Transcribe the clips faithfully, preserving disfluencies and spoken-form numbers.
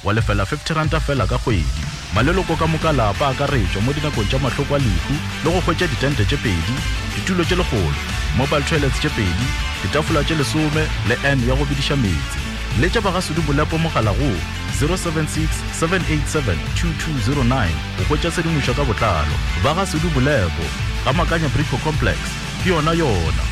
Wa lefela fifty ranta fela ka kgwedi. Maleloko ka moka lapa a akaretšwa mo dinakong tša mahloko a lehu le go hwetša ditente tše pedi, ditulo tše lekgolo, mobile toilets tše pedi, ditafola tše lesome le N ya go bediša meetse. Letša Bagasudu Bolepo mogala go zero seven six seven eight seven two two zero nine go hwetša tshedimošo ka botlalo. Bagasudu Bolepo, ga Makanya Brico Complex, ke yona yona.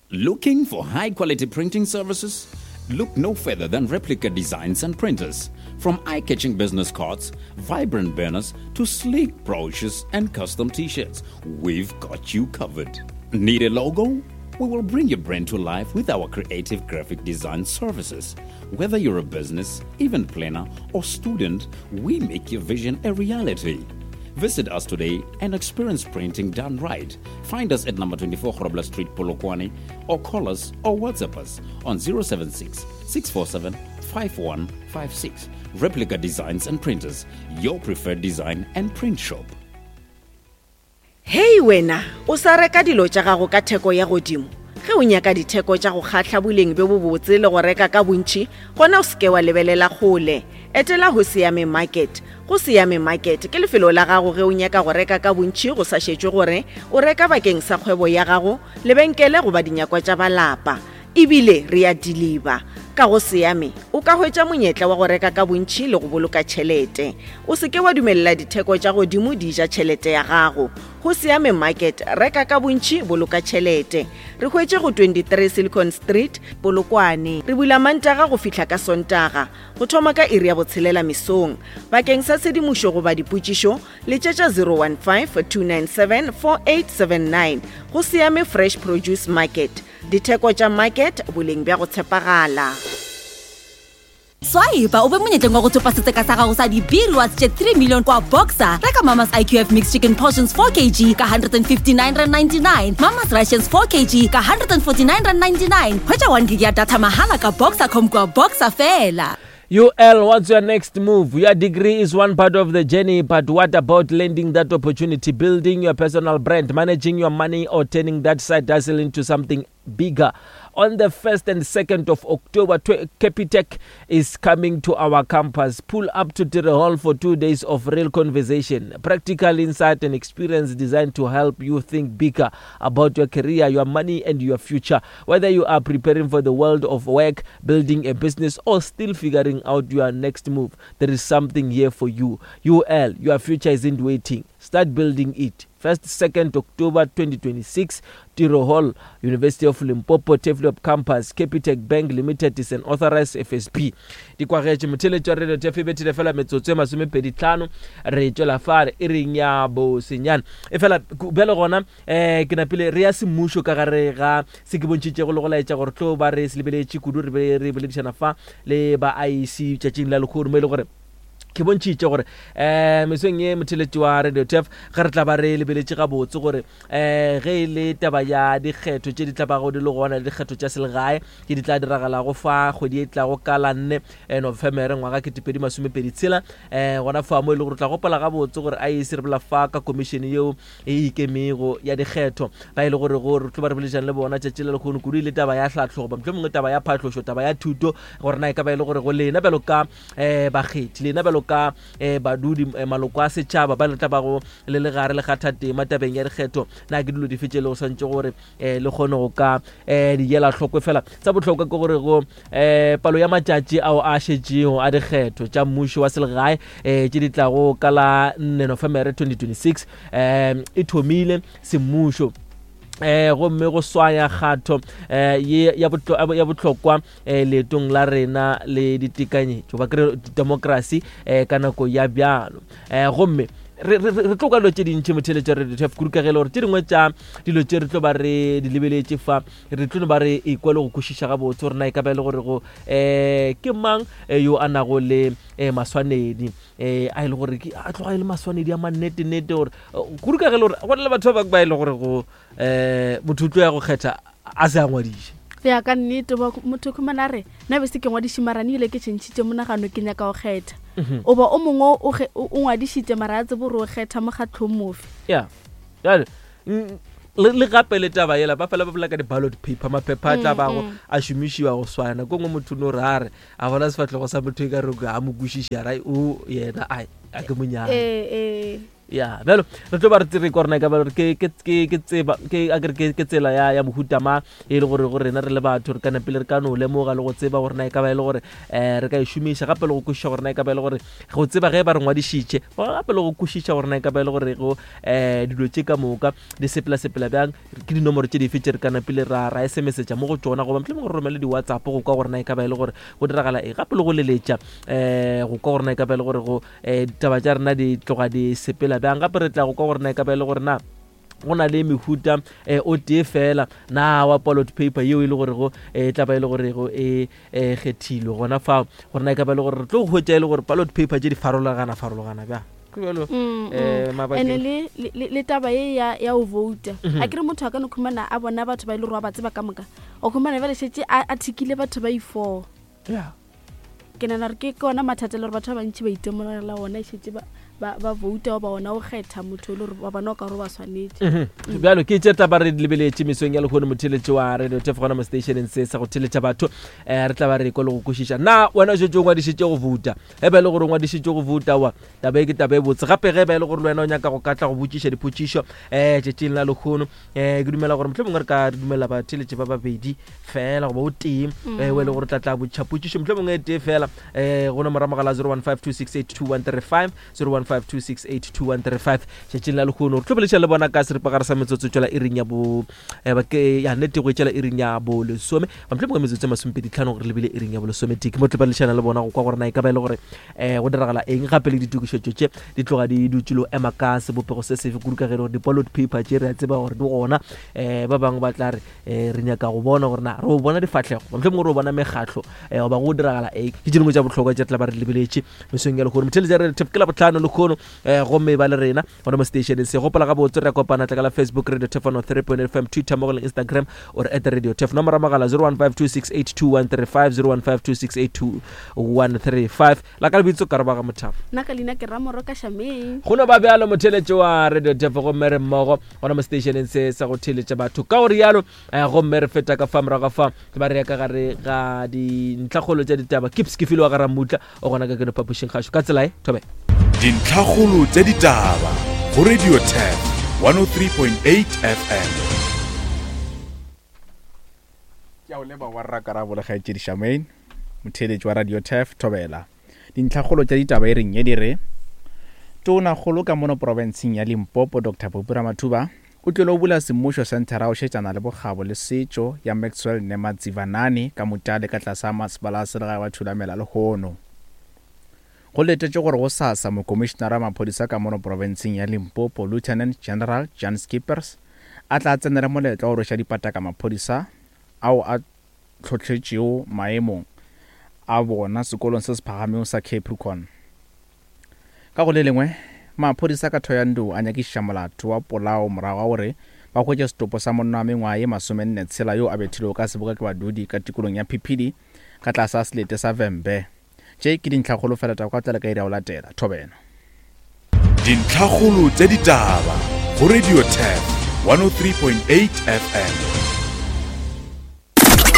Looking for high-quality printing services? Look no further than Replica Designs and Printers. From eye-catching business cards, vibrant banners, to sleek brochures and custom t-shirts, we've got you covered. Need a logo? We will bring your brand to life with our creative graphic design services. Whether you're a business, event planner, or student, we make your vision a reality. Visit us today and experience printing done right. Find us at number twenty-four Grobler Street, Polokwane, or call us or WhatsApp us on zero seven six, six four seven, five one five six. Replica Designs and Printers, your preferred design and print shop. Hei wena, o sa reka dilo tša gago ka theko ya godimo. Ge o nyaka ditheko tša go kgahla boleng bjo bobotse le go reka ka bontši, gona o seke wa lebelela kgole. Etela Ho Siame Market. Go Siame Market ke lefelo la gago ge o nyaka go reka ka bontši go sa šetšwe gore o reka bakeng sa kgwebo ya gago, lebenkele goba dinyakwa tša balapa. Ebile re a deliver. Ka go Siame, o ka hwetša monyetla wa go reka ka bontši le go boloka tšhelete. O seke wa dumelela ditheko tša godimo di ja tšhelete ya gago. Ho Siame Market, reka ka bontši, boloka tšhelete. Re hwetše go twenty-three Silicon Street, Polokwane. Re bula Mantaga go fihla ka Sontaga, go thoma ka iri ya botshelela mesong. Bakeng sa tshedimošo goba dipotšišo, letšetša zero one five, two nine seven, four eight seven nine. Go Siame Fresh Produce Market. Ditheko tša market, boleng bja go tshepagala. Swipe o be monyetleng wa go thopa setseka sa gago sa di-B-rewards tše three million kwa Boxer. Reka Mama's I Q F Mixed Chicken Portions four kilograms ka hundred and fifty-nine rand ninety-nine, Mama's Rations four kilograms ka hundred and forty-nine rand ninety-nine. Hwetša one gig ya data mahala ka Boxer.com kwa Boxer fela. U L, what's your next move? Your degree is one part of the journey, but what about landing that opportunity, building your personal brand, managing your money, or turning that side hustle into something bigger? On the first and second of October, tw-, Capitec is coming to our campus. Pull up to Tiro Hall for two days of real conversation, practical insight and experience designed to help you think bigger about your career, your money and your future. Whether you are preparing for the world of work, building a business, or still figuring out your next move, there is something here for you. U L, your future isn't waiting. Start building it. First, second October twenty twenty-six, Tiro Hall, University of Limpopo, Turfloop Campus, Capitec Bank Limited is an authorized F S P. Dikwagetše motheletšo wa Radio T F bethile fela metsotso e masomepedi tlhano, re tšwela fare e reng ya bosenyane. E fela, ku-, bjale gona, eh, ke napile re ya semmušo ka gare ga se ke bontšhitšego le go laetša gore tlo ba re se lebeletše kudu, re be re boledišana fa le ba I E C tšatšing la lehono, mo e le gore ke bontšhitše gore, eh, mesong ye motheletši wa Radio T F ge re tla ba re lebeletše gabotse gore, eh, ge e le taba ya dikgetho tše di tla bago di le gona le dikgetho tša selegae tše di tla diragalago fa kgwedi e tlago ka la nne, eh, Nofemere ngwaga ketepedi masomepedi tshela, eh, gona fa mo e le gore tla gopola gabotse gore I E C re bolela fa ka komišene yeo e ikemego ya dikgetho, ba e le gore go re tlo ba re boledišana le bona tšatši le lekgono kudu e le taba ya tlhahlo goba mohlomongwe taba ya phahlošo, taba ya thuto, gore na e ka ba e le gore go lena bjalo ka, eh, bakgethi, lena bjalo ka, eh, badudi, eh, maloko a setšhaba ba le tla bago le le gare le kgatha tema tabeng ya dikgetho, na ke dilo dife tše le go swantše gore, eh, le kgone go ka, eh, di ela hloko. Fela tsa bohlokwa ke gore go, eh, palo ya matšatši ao a šetšego a dikgetho tša mmušo wa selegae, eh, tše di tlago ka la nne Nofemere twenty twenty-six, eh, e thomile semmušo. Eh, gomme go swaya kgato, eh, ye ya bohlo-, ya bohlokwa, eh, leetong la rena le ditekanyetšo, ba kry democracy, eh, ka nako ya bjalo. Eh, gomme re, re, re, re tlo kwa dilo tše dintši motheletšo wa Radio T F, kudu ka ge e le gore tše dingwe tša dilo tše re tlo ba re di lebeletše fa, re tlo no ba re ikwa le go kwešiša gabotse gore na e ka ba e le gore go, eh, ke mang, eh, yo a nago le, eh, maswanedi, eh, a e le gore ke, a tloga e le maswanedi a mannete-nete gore, eh, kudu ka ge e le gore go na le batho ba bangwe ba e le gore go, eh, motho o tlo ya go kgetha a se a ngwadiše. Go ya ka nnete, ba motho o khumana a re, nna be se ke ngwadiše mara ne ile ke tšhentšhitše monagano, ke nyaka go kgetha. Mhm. O ba o mongwe o ge-, o, o ngwadišitše mara a tsebe gore o kgetha mokgatlhong mofe. Ya. Jwale, mm, Le gape le taba yela ba fela ba bolela ka di-ballot paper, maphepha a tla bago a šomišiwa go swana. Ko ngwe motho no re a re a bona sefatlhego sa motho e ka re a mo kwešiše, a ra o yena ai a ke monyane. Ya bjalo re tlo ba re tsere kwa rena ka ba ke ke ke ke tseba ke a ke ke tsela ya ya mohuta ma e le gore go rena re le batho re ka napile re ka no lemoga le go tseba gore na e ka ba e le gore eh re ka e šomiša, gape le go kwešiša gore na e ka ba e le gore go tseba ge ba re ngwadišitše, gape le go kwešiša gore na e ka ba e le gore go eh dilo tše ka moka di sepela sepela bjang, ke dinomoro tše dife tše re ka napile ra ra S M S-etša mo go tšona, goba mohlomongwe re romele di-WhatsApp go kwa gore na e ka ba e le gore go diragala eng, gape le go leletša eh go kwa gore na e ka ba e le gore go eh ditaba tša rena di tloga di sepela bjang. Gape re tla go kwa gore na e ka ba e le gore na go na le mehuta eh, o tee fela na wa ballot paper yeo e le gore go e tla ba e le gore go e kgethilwe gona fao, gore na e ka ba e le gore re tlo go hwetša e le gore ballot paper tše di farologana farologana bjang. Ke bjalo eh ene le le taba ye ya ya o vouta a kere motho a ka no khumana a bona batho ba ile gore ba tseba ka moka, o khumana bjale šetše a thikile batho ba i four. Yeah ke nana re ke ke ona mathata le gore batho ba bantši ba itemogela ona e šetše ba ba ba vouta ba ona o kgetha motho le gore ba bona o ka gore ba swanetše. Bjalo ke tše taba re lebeletše mesong ya lehono, motheletše wa Radio Turf gona mo stationeng se sa go theletša batho. um re tla ba re kwa le go kwešiša na wena o šetše o ngwadišitše go vouta. Ge ba e le gore o ngwadišitše go vouta, wa taba e ke taba e botse. Gape ge ba e le gore le wena o nyaka go katla go botšiša dipotšišo um tšatšing la lehono, um ke dumela gore mohlomongwe re ka re dumela batheletše ba babedi fela goba o tee um o e le gore tla tla botšiša potšišo mohlomongwe e tee fela um go nomoro mogala zero one five two six eight two one three five, zero one five two six eight two one three five. Tšatšing la lehono re tlo boletša le bona ka seripagare sa metsotso tšwela iring ya bo eh, ba ke ya nnete go etšela iring ya bo lesome, mohlomongwe metsotso e masomepedi tlhano gore lebile iring ya bo lesometee. Ke mo tlo boledišana le bona go kwa gore na e ka ba e le gore um go diragala eng, gape le ditokišetšo tše di tloga di dutše le go ema ka sebopego se sefe, kudu ka ge e le gore di-ballot paper tše re a tseba gore di gona. um ba bangwe ba tla re um re nyaka go bona gore na re o bona difatlhego, mohlomongwe re o bona mekgatlho um goba go diragala eng. Ke tše dingwe tša bohlokwa tše re tla ba re lebeletše mesong ya lehono. Motheletša re ke la botlhano lehono, um gomme ba le rena gona mo stationeng se. Gopola gabotse re kopana tla ka la Facebook Radio Turf one three point F M, Twitter mo go leng Instagram or at Radio Turf. Nomoro ya mogala zero one five two six eight two one three five, zero one five two six eight two one three five. La ka lebitso ka robaga Mothapo, nna ka leina ke Ramoro ka Shameng. Go no ba bjalo motheletše wa Radio Turf, gomme re mmogo gona mo stationeng se sa go theletša batho ka gore yalo. Gomme re feta ka fa morago fa ba re ya ka gare ga dintlhakgolo tša ditaba. Kips ke file wa ga Ramutla o gona ka keno phapošing kgašo ka tsela e thobe. Dintlhakgolo tša ditaba go Radio Turf one oh three point eight F M. Ke a o leba wa rrakarabo le kgaetšedi Shamaine, motheeletši wa Radio Turf thobela. Dintlhakgolo tša ditaba e reng ye di re Tonakgolo ka mono profenseng ya Limpopo Doctor Phophi Ramathuba o tlile o bula semmušo senthara o šetšana le bokgabo le setšo ya Maxwell Nematsivanani ka Mutale ka tlase ga masepala a selegae wa Thulamela lehono. Go letetše gore go sasa mokomišenara wa maphodisa ka mono profenseng ya Limpopo Lieutenant General Jan Skippers a tla tsenela moletlo wa go rweša dipataka maphodisa ao a tlhohletšego maemong a bona sekolong se se phagamego sa Capricorn. Ka go le lengwe, maphodisa ka Thohoyandou a nyakišiša molato wa polao morago ga gore ba hwetše setopo sa monna wa mengwaga ye masomenne tshela yo a bethilwego ka seboka ke badudi ka tikolong ya Phiphidi ka tlase ga selete sa Vhembe. Tše ke dintlhakgolo fela taba ka tlale ka iri ya go latela. Thobela. Dintlhakgolo tša ditaba go Radio Turf one oh three point eight F M.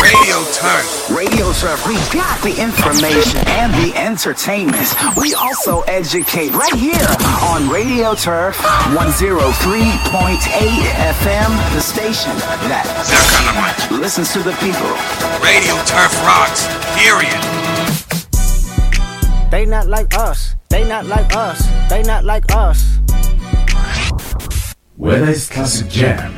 Radio Turf. Radio Turf, we got the information and the entertainment. We also educate right here on Radio Turf one oh three point eight F M, the station that listens to the people. Radio Turf rocks, period. They not like us. They not like us. They not like us. Whether it's classic jam,